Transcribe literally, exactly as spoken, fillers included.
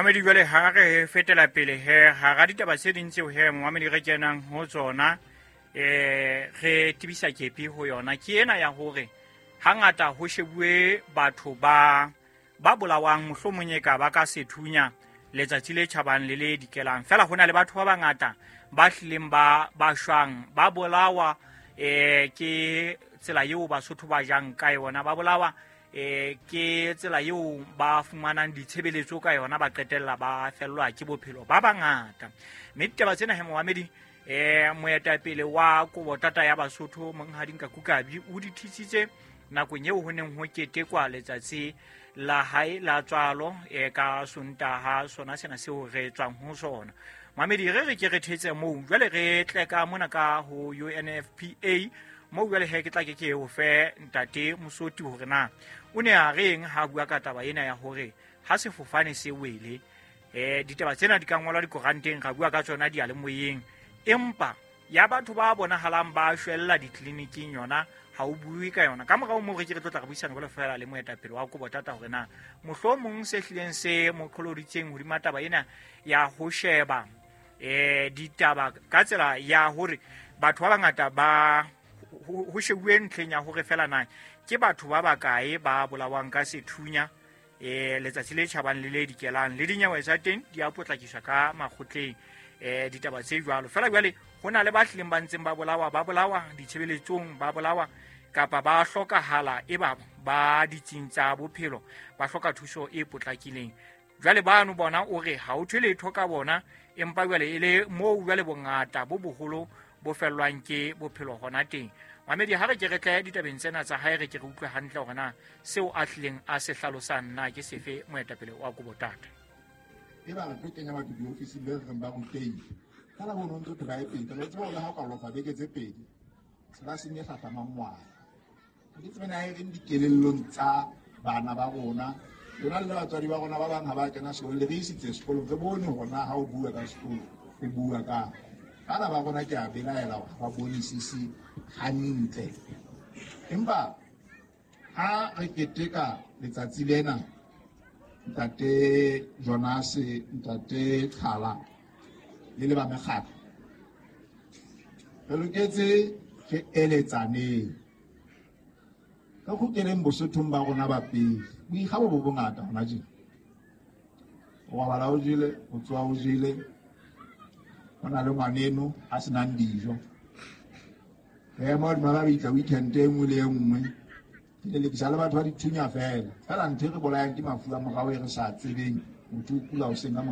Mamedi, jwale ha re fetela pele he hara ditaba tse ding tseo he momamedi re kenang ho tsona, eh re tebisa kepi ho yona ke ena ya hore hangata ho shebuwe batho ba ba bolawang mohlomong e ka ba ka sethunya letsatsi le tjhabang le le dikelang. Fela ho na le batho ba bangata ba hlileng ba ba shwang ba bolawa eh ke tsela eo Basotho ba jang ka yona, ba bolawa eh ke tsela eo ba fumanang ditshebeletso ka yona, ba qetella ba fellwa ke bophelo ba bangata. Mme ditaba tsena he momamedi, eh moetapele wa Kobotata ya Basotho Monghadi Nkaku Kabi o di thisitse nakong eo ho neng ho ketekwa letsatsi la hae la tswalo e ka Sontaha sona sena seo re tswang ho sona. Mamedi, re re ke re thetse moo jwale re tle ka mona ka ho U N F P A moo jwale he ke tla ke ke o fe ntate Mosoti hore na o ne a reng ha bua ka taba ena ya hore ha sefofane se wele, eh ditaba tsena di ka ngolwa dikoranteng, ra bua ka tsona diyalemoyeng, empa ya batho ba bonahalang ba shwella ditleliniking yona ha o bue ka yona. Ka morao moo re ke re tlo tla re buisana jwalo fela le moetapele wa Kobotata hore na mohlomong se hlileng se mo qholoditseng hodima taba ena ya ho sheba eh ditaba ka tsela ya hore batho ba bangata ba ho shebuwe ntlheng ya hore fela na ke batho ba bakae ba bolawang ka sethunya eh letsatsi le tjhabang le le dikelang le dinyewe tsa teng di a potlakiswa ka makgotleng eh ditaba tse jwalo. Fela jwale ho na le ba hlileng ba ntseng ba bolawa, ba bolawa ditshebeletsong, ba bolawa kapa ba hlokahala e ba ba ditsing tsa bophelo, ba hloka thuso e potlakileng. Jwale bano bona o re ha o thwe letho ka bona, empa jwale e le moo jwale bongata bo boholo bo fellwang ke bophelo hona teng. Mamedi, ha re ke re tle ditabeng tsena tsa hae, re ke re utlwe hantle hore na seo a hlileng a se hlalosang na ke sefe moetapele wa Kobotata. E ba re tlo kenya batho diofising be re reng ba rutehile. Ka la bono ntse phela e pedi, re tseba hore ha o ka lofa beke tse pedi, tlelaseng e hlahlamang ngwana. Ha ke tsebe na e reng dikelellong tsa bana ba rona, lona le batswadi ba rona ba bang ha ba kena sekolong, le re isitse sekolong, re bone hore na ha o bua ka sekolo, o bua ka. Bana ba rona ke a belaela hore ha ba bonisise hantle. Empa ha re keteka letsatsi lena, Ntate Jonas, Ntate Qhala le le ba mekgatlo, re loketse re eletsaneng, re kgutleleng Bosothong ba rona ba pele. Boikgabo bo bongata hona tjena. O robala o jele, o tsoha o jele, ho na le ngwaneno a senang dijo. Re ema hodima ba bitla weekend e nngwe le e nngwe, ke lelekisa le batho ba dithunya fela. Fela ntho e re bolayang ke mafu a morao e re sa tsebeng, motho o kula hoseng ka mora